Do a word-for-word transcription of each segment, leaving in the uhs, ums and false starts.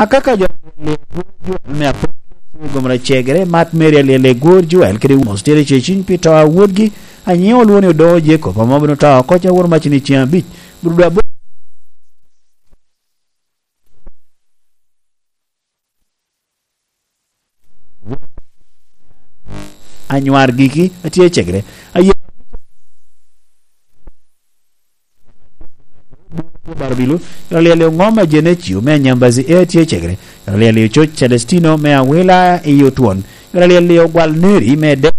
Akaka jo me apok gomra cegere, mat Mary Alyel Egwor Joel kede Wumos tye ceciny pi to a wodgi, anyiŋ olwoŋo ni Odoŋo Jacob, ame obino to oko ca woro macini ceŋ abic. Brudo abo- Anywar giki atye cegere. Aye Barabilo, Yaralyel Oŋom a Genecio me Anyambazi e atye cegere. Yaralyel Ococ Celestino me Awila i Otwon. Yaralyel Ogwal Neri me De-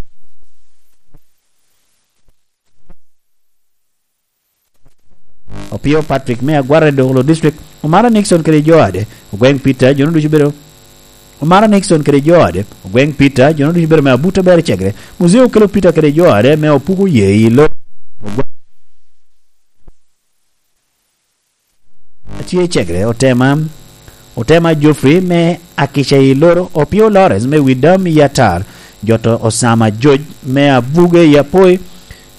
Opio Patrick me Agwara i Dokolo District, Omara Nixon kede jo ade, Ogweng Peter, jo ducu bedo. Omara Nixon kede jo ade, Ogweng Peter, jo ducu bedo me Abuta Ber Cegre, Muzee Okelo Peter kede jo ade me Opuko Ye i Lo. Atye Cegre, Otema, Otema Geoffrey me Akica i Loro, Opio Lawrence me Widam i Atar, Joto Osama George me Abuge i Apoi,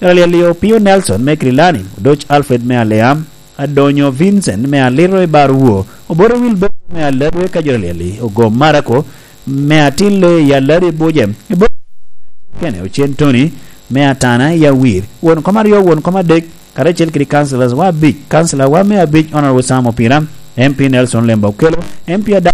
Yaralyel Opio Nelson me Kirilani, Odoc Alfred me Aleam, Adonyo Vincent me Aliro i Barwo, Oboro Wilberto me Aladwe ka Yaralyel Ogom Marako me Atillo i Alado i Buje, i Bo-, kene Ocen Tony me Atana i Awir, won kom aryo, won kom adek, karacel kede councillors wa abic, councillor wa me abic, Honorable Sam Opira, M P Nelson Lemba Okello, M P Adam